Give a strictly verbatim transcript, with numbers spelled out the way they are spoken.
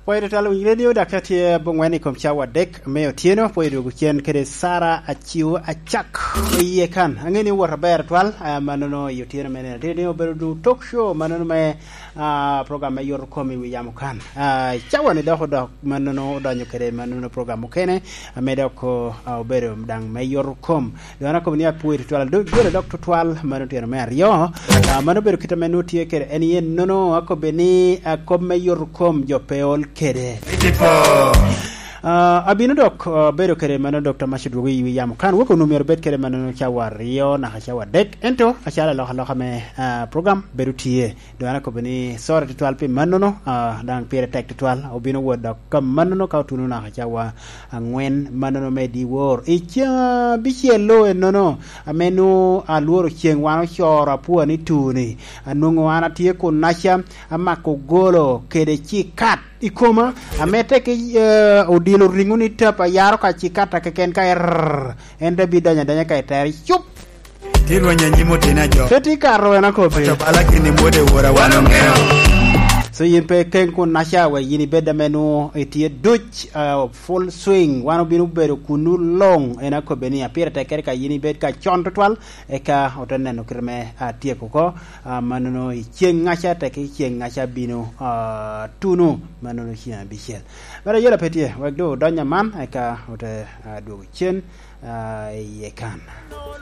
Pwoyo tutwal, owiny redio dok atye aboŋwen i kom cawa adek me otyeno. Pwoyo dwogo cen kede Sara Aciu Acak iye kan. Aŋe ni owot aber twal, ah, mannono i otyeno me nino. Tye ni obedo du talk show, mannono me, ah, program me yoto kom i wi yamo kan. Ah, cawa ni dok odok mannono odonyo kede mannono program okene, ame dok, ah, obedo daŋ me yoto kom. Doŋ an akobo ni apwoyo tutwal, ado jolo dok tutwal, mano otyeno me aryo. Ah, mano obedo kit ame nwoŋo tye kede en yen nono, akobbe ni, ah, kop me yoto kom jo pe ol kede. Ah, abino dok, ah, bedo kede mano Dokta Mac odwogo i wi yamo kan, wek onwoŋo myero obed kede mano cawa aryo naka cawa adek, ento acalo alokaloka me, ah, program bedo tye. Doŋ an akobbe ni, sorry tutwal pi mannono, ah, daŋ pire tek tutwal, obino wot dok ka mannono ka otuno naka cawa aŋwen mannono me dyewor. I ceŋ abicel-lu ennono, ame nwoŋo alworo ceŋ wan ocoro apua ni tuni, anwoŋo an atye kunnaca, amako golo kede cikat i koma, ame tek, eh, odilo riŋo ni tap, ayaro ka cikat a keken ka err, en te bidonyo adonya ka i tere, cup! Ti rweny anyim oteni ajo. Pe ti kato en akobbe. Oto bala gin i mwode wora wan oŋeo. So yin pe ikeŋ kunnaca, wek yin ibed ame nwoŋo itye duc, ah, full swing. Wan obino bedo kunnu luŋ. En akobbe ni, a, pire tek kede ka yin ibed ka con tutwal, eka ote neno kite me, ah, tyeko oko. Ah, mannono i ceŋŋaca, tek i ceŋŋaca bino, ah, tuno, mannono ceŋ abicel. Mere ayela pe tye, wek doŋ odony aman, eka ote, ah, dwogo cen, ah, iye kan.